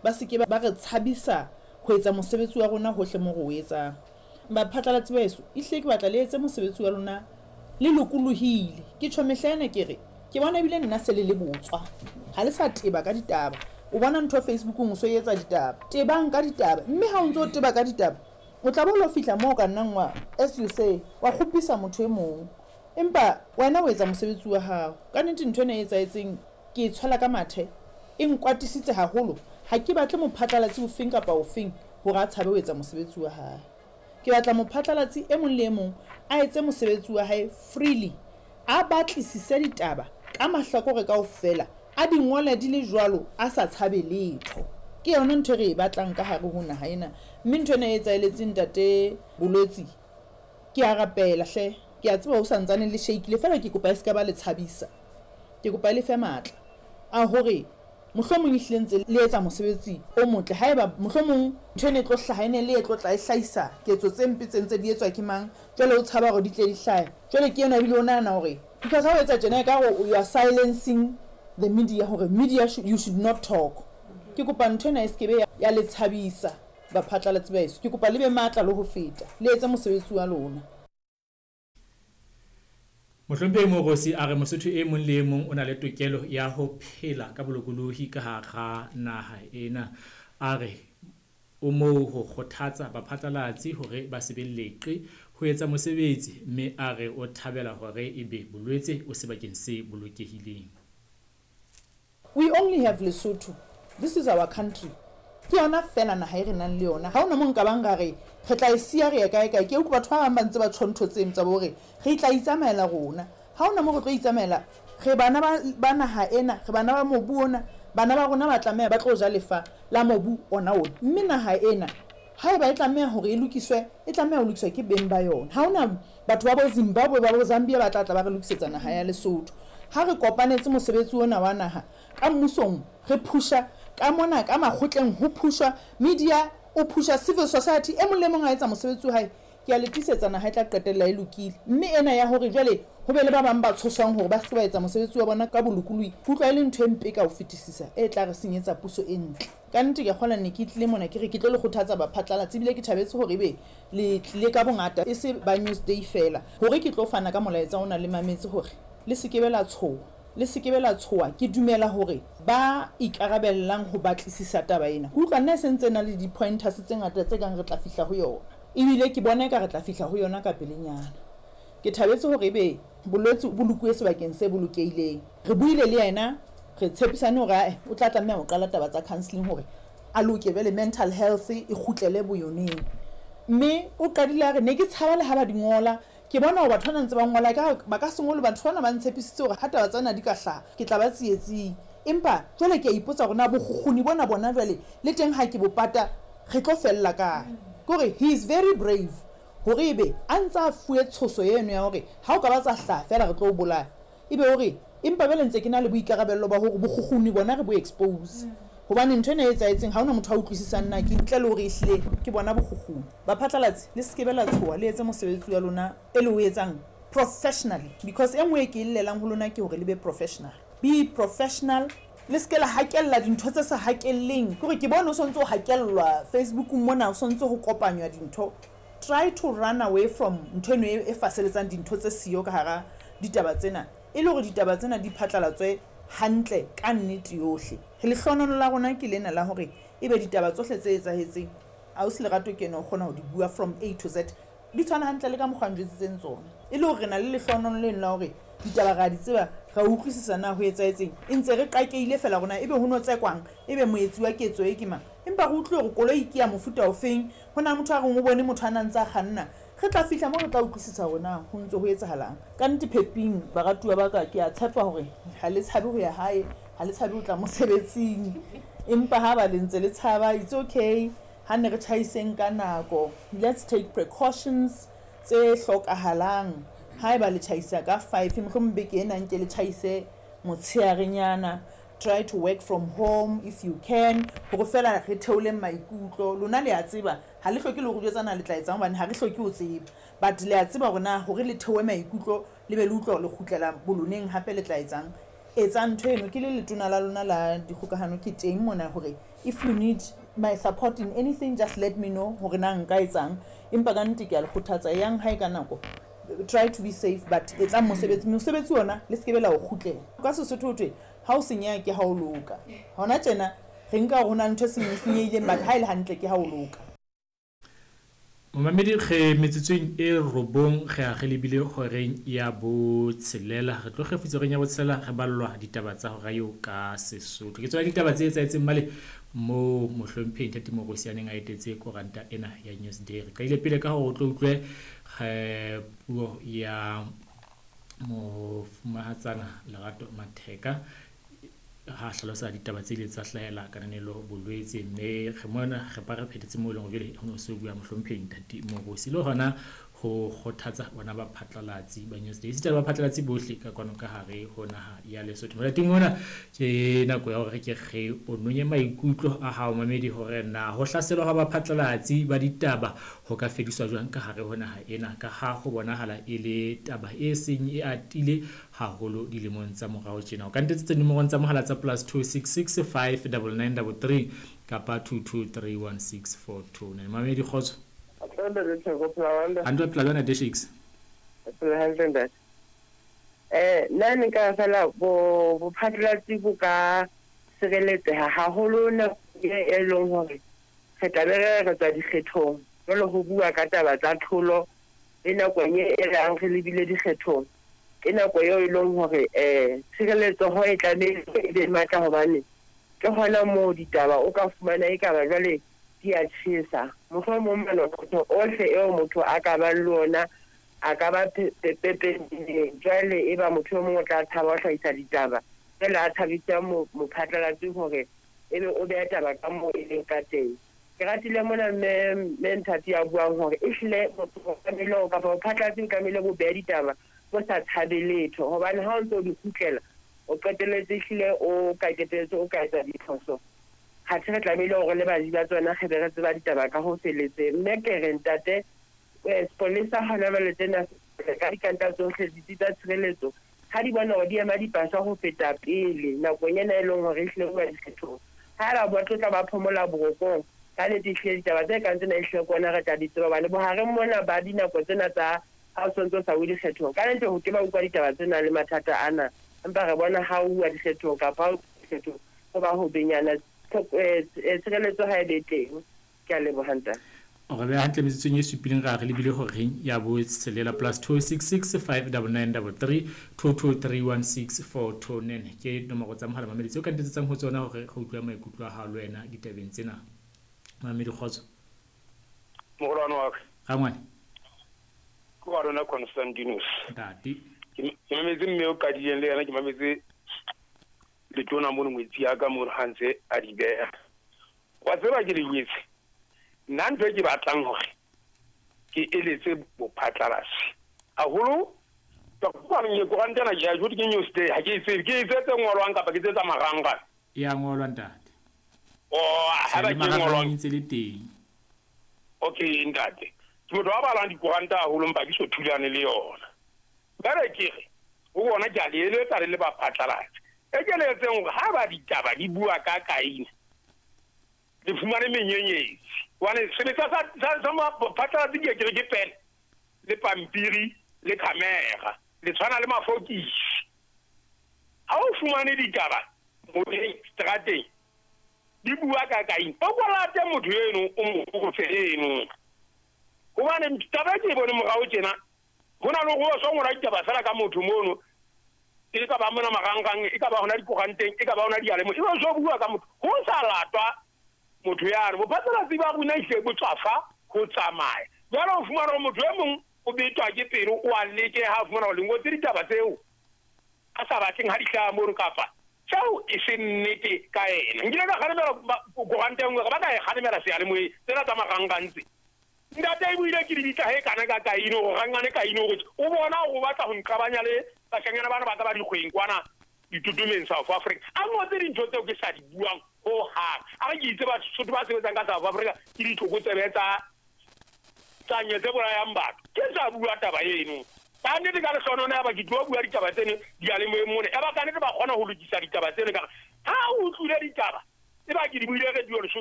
Ba se ke ba re tshabisa ho etsa mosebetsi wa rona hohle moo re o etsang. Baphatlalatsi ba heso, ehlile ke batla le etse mosebetsi wa lona le lokolohile. Ke tjho mehla ena ke re, ke bona ebile nna se le le botswa. Ha le sa teba ka ditaba. O bona ntho Facebookong o so e etsa ditaba. Tebang ka ditaba. Mme ha o ntso o teba ka ditaba, o tla bo lo fihla moo o ka nnang wa, as you say, wa kgopisa motho e mong. Empa wena o etsa mosebetsi wa hao. Ka nnete ntho ena e etsahetseng ke e tshwela ka mathe, e nkwatisitse haholo. Ha ke batle mophatlalatsi ofeng kapa ofeng hore a tshabe ho etsa mosebetsi wa hae. Ke batla mophatlalatsi e mong le e mong a etse mosebetsi wa hae freely, a batlisise ditaba ka mahlakore kaofela, a di ngole di le jwalo a sa tshabe letho. Ke yona ntho e re e batlang ka hare ho naha ena. Mme ntho ena e etsaheletseng Ntate Bolwetsi, ke a rapela hle, ke a tseba ho sa ntsane le shakile feela ke kopa e se ka ba le tshabisa. Ke kopa e le fe matla a hore mohlomong ehlile ntse le etsa mosebetsi o motle. Haeba mohlomong ntho ena e tlo hlaha e ne le e tlo tla e hlahisa ketso tse mpe tse ntse di etswa ke mang, jwale o tshaba hore di tle di hlahe. Jwale ke enwa ebile o nahana hore because ha o etsa tjena ekare you are silencing the media hore media you should not talk. Ke kopa ntho ena e se ke be ya le tshabisa baphatlalatsi ba heso. Ke kopa le be matla le ho feta, le etse mosebetsi wa lona. Mohlomphehi Moorosi a re Mosotho e mong le e mong o na le tokelo ya ho phela ka bolokolohi ka hara naha ena. A re o moo ho kgothatsa baphatlalatsi hore ba se be leqe ho etsa mosebetsi mme a re o thabela hore ebe bolwetse o sebakeng se bolokehileng. We only have Lesotho, this is our country, ke yona feela naha e re nang le yona, ha hona moo nka bang ra re re tla e siya re ye kae kae. Ke utlwa batho ba bang ba ntse ba tjho ntho tseno tsa bo hore re tla itsamaela rona, ha hona moo re tlo itsamaela, re bana ba, ba naha ena, re bana ba mobu ona, bana ba rona ba tlameha ba tlo ja lefa la mobu ona ona. Mme naha ena haeba e tlameha hore e lokiswe, e tlameha ho lokiswa ke beng ba yona. Ha hona batho ba bo Zimbabwe, ba bo Zambia ba tla tla ba re lokisetsa naha ya Lesotho. Ha re kopanetse mosebetsi ona wa naha ka mmusong, re phusha ka mona ka makgotleng ho phushwa, media o phusha, civil society e mong le mong a etsa mosebetsi wa hae, ke a le tiisetsa naha e tla qetella e lokile. Mme ena ya hore jwale ho be le ba bang ba tshoswang hore ba se ke ba etsa mosebetsi wa bona ka bolokolohi, ke utlwa e le ntho e mpe ka ho fetisisa e tla re senyetsa puso e ntle. Ka nnete ke a kgolwa ne ke tlile mona ke re ke tlo le kgothatsa baphatlalatsi ebile ke thabetse hore ebe le tlile ka bongata e se ba Newsday feela hore ke tlo fana ka molaetsa ona le mametse hore le se ke be la tshoha. Le se ke be la tshoha. Ke dumela hore ba ikarabellang ho batlisisa taba ena, ke utlwa nna e se ntse e na le di-pointers tse ngata tse kang re tla fihla ho yona. Ebile ke bona eka re tla fihla ho yona ka pelenyana. Ke thabetse hore ebe bolwetse bo lokuwe sebakeng se bolokehileng. Re buile le yena, re tshepisane hore ae o tla tlameha ho qala taba tsa counselling hore a loke jwale mental health e kgutlele boyoneng. Mme o qadile a re ne ke tshaba le ha ba di ngola, ke bona hore batho bana ntse ba ngola ekare ba ka se ngole, batho bana ba ntshepisitse hore ha taba tsena di ka hlaha ke tla ba tsietsing. Empa jwale ke a ipotsa hore na bokgukguni bona bona jwale le teng ha ke bo pata re tlo fella kae. Ke hore he is very brave hore ebe a ntse a fuwe tshoso eno ya hore ha o ka ba tsa hlaha feela re tlo o bolaya, ebe o re empa jwale ntse ke na le boikarabello ba hore bokgukguni bona re bo expose. Hobane ntho ena e etsahetseng ha hona motho a utlwisisang na ke ntle le hore ehlile ke bona bokgukguni. Baphatlalatsi le se ke be la tshoha le etse mosebetsi wa lona e le o etsang professionally because e nngwe e ke e llelang ho lona ke hore le be professional. Be professional, le se ke la hakella dintho tse sa hakelleng. Ke hore ke bone o sontse o hakellwa Facebookong mona o sontse ho kopanywa dintho. Try to run away from ntho eno e faseletsang dintho tse siyo ka hara ditaba tsena e le hore ditaba tsena di phatlalatswe hantle ka nnete yohle. Lehlohonolo la rona ke lena la hore ebe ditaba tsohle tse etsahetseng Ausi Lerato ke ena o kgona ho di bua from A to Z. Di tshwana hantle le ka mokgwa a njwetsitseng tsona. E le hore re na le lehlohonolo leno la hore ditaba re a di tseba, re a utlwisisa na ho etsahetseng. E ntse re qakehile feela hore na ebe ho no tsekwang, ebe moetsi wa ketso e ke mang. Empa re utlwile hore koloi ke ya mofuta ofeng, ho na le motho a reng o bone motho a na ntse a kganna. Re tla fihla moo re tla utlwisisa hore na ho ntse ho etsahalang. Ka nnete Pheping, baratuwa ba ka, ke a tshepa hore ha le tshabe ho ya hae, ha le tshabe ho tla mosebetsing. Empa ha ba le ntse le tshaba, it's okay. Ha ne re tjhaiseng ka nako. Let's take precautions tse hlokahalang. Haeba le tjhaisa ka five, mohlomong beke ena nke le tjhaise motshearenyana. Try to work from home if you can, hore feela re theoleng maikutlo. Lona le a tseba, ha le hloke le ho re jwetsa na le tla etsang hobane ha re hloke ho tseba. But le a tseba hore na hore le theohe maikutlo le be le utlwa hore le kgutlela boloneng hape le tla etsang. Etsang ntho eno. Ke le letona la lona la dikgokahano ke teng mona hore if you need my support in anything just let me know hore na nka etsang. Empa ka nnete ke a le kgothatsa eyang hae ka nako. Try to be safe but etsang mosebetsi. Mosebetsi ona le se ke be la o kgutlela. Ka Sesotho ho thwe ha o senyeha ke ha o loka. Hona tjena re nka hore ho na le ntho e senyehileng but ha e le hantle ke ha o loka. Momamedi re metsotsong e robong re a re lebile horeng ya botshelela. Re tlo kgefutsa horeng ya botshelela re ballwa ditaba tsa hora eo ka Sesotho. Ke tsona ditaba tse etsahetseng male moo mohlomphehi Ntate Morusi a neng a etetse koranta ena ya Newsday. Re qadile pele ka hore o tlo utlwe puo ya mofumahatsana Lerato Matheka ha a hlalosa ditaba tse ileng tsa hlahela kananelo bolwetse mme re mona re ba re phethetse moo e leng hore jwale ho ne ho se bua mohlomphehi Ntate Morusi le hona ho kgothatsa bona baphatlalatsi ba Newsday esita le baphatlalatsi bohle ka kwano ka hare ho naha ya Lesotho. Molating ona ke nako ya hore re ke re o nonye maikutlo a hao mamedi hore na ho hlaselwa hwa baphatlalatsi ba ditaba ho ka fediswa jwang ka hare ho naha ena ka ha ho bonahala e le taba e seng e atile haholo dilemong tsa morao tjena. O ka ntetsetsa dinomorong tsa mohala tsa plus 266 59933 kapa 22316429. Mamedi kgotso. Hantle phela jwang Ntate Shakes? Phela hantle ntate. Eh nna ne nka fela bo bophatlalatsi bo ka sireletseha haholo nako e leng hore re tla be re re tswa dikgethong jwale ho bua ka taba tsa tlholo le nakong e e rang re lebile dikgethong. Ke nako eo e leng hore tshireletsoho e tlamehile e be matla hobane ke hona moo ditaba o ka fumana ekaba jwale di a tjhesa. Mohlomong manonotho ohle eo motho a ka bang le ona a ka ba pepeneneng. Jwale eba motho e mong o tla tshaba ho hlahisa ditaba jwale a tshabisa mophatlalatsi hore ebe o beha taba ka moo e leng ka teng. Ke ratile mona mme mme Nthati a buang hore ehlile motho o tlamehile hore kapa bophatlalatsi bo tlamehile bo behe ditaba bo sa tshabe letho hobane ha o ntso di kgutlela o qetelletse ehlile o ka qetelletse o ka etsa diphoso. Kgathe re tlamehile hore le baji ba tsona re be re tseba ditaba ka ho feletseng. Mme ke re ntate sepolesa hona jwale tsena ka dikanta tsohle ditsi tsa tshireletso ha di bona hore di ema dipasa ho feta pele nakong ena e leng hore ehlile ho dikgethong. Haeba ba tlotla ba phomola borokong, ka nnete ehlile ditaba tse kang tsena ehlile ke ona re tla di tseba hobane bohareng mona ba dinako tsena tsa ha o sontse o sa uwe dikgethong, ka nnete ho ke ba utlwa ditaba tsena le mathata ana. Empa re bona ha o uwa dikgethong kapa ha o dikgethong ho ba ho benyana tshireletso ha e be teng. Ke a leboha ntate. O re beha hantle metsotsong e supileng ra re lebile horeng ya botshelela plus 266 599 33 2231642 ke nomoro tsa mohala mamedi tseo ka ntetsetsang ho tsona hore re utlwe maikutlo a hao le wena ditabeng tsena. Mamedi kgotso. Mogolwane wa ka. Rangwane. Ke wa rona Constantinus. Ntate. Ke mametse mme o qadileng le yena ke mametse letona mono ngwetsi ya ka mono ha ntse a di beha. Wa tseba ke le jwetse nna ntho e ke batlang hore ke eletse bophatlalatsi haholo koranta ena ke a jwetse ke Newsday ha ke e tsebe ke e tse tse ngolwang kapa ke tse tsa marangrang. E a ngolwa ntate. Oh, haeba ke ngolwang ntse le teng. Okay ntate. Ke motho wa balang dikoranta haholo mpa ke so thulane le yona. Jwale ke re ho bona ke a le eletsa le le baphatlalatsi. E ke le etseng hore ha ba ditaba di bua ka kaine le fumane menyenyetsi. Hobane sebetsa sa maphatlalatsi ke ke re ke pene le pampiri le camera le tshwana le mafokisi. Ha o fumane ditaba moyeng strateng di bua ka kaine o kolate motho eno o mo botse eno. Hobane taba ke e bone morao tjena ho na le hore o so ngola ditaba fela ka motho mono e ka ba mona marangrang e ka ba hona dikoranteng e ka ba hona diyalemoyeng e ba so bua ka motho ho sa latwa motho yane. Bophatlalatsi ba rona ehlile bo tswafa ho tsamaya. Jwale o fumana hore motho e mong o betwa ke pelo o a lekeha ha fumana hore le ngotse ditaba tseo a sa batleng ha di hlaha mono kapa tseo e se nnete ka ena. Nkile ka kgalemela koranta e nngwe ba ka e kgalemela seyalemoyeng tsena tsa marangrang tse. Ntate e buile ke di bitsa he kana ka kaine hore rangwane kaine hore o bona hore o batla ho nqabanya le bashanyana bana ba ka ba dikgweng kwana ditotomeng South Africa. A ngotse dintho tseo ke sa di buang ho hang. A re ke itse Basotho ba sebetsang ka South Africa ke ditlokotsebe tsa nye tse bolayang batho. Ke sa bua taba eno. Ka nnete ka lehlohono ya ba ke tlo bua ditaba tseno diyalemoyeng mona. Ya ba ka nnete ba kgona ho lokisa ditaba tseno ka ha o utlwile ditaba e ba ke di buile radio Lesotho.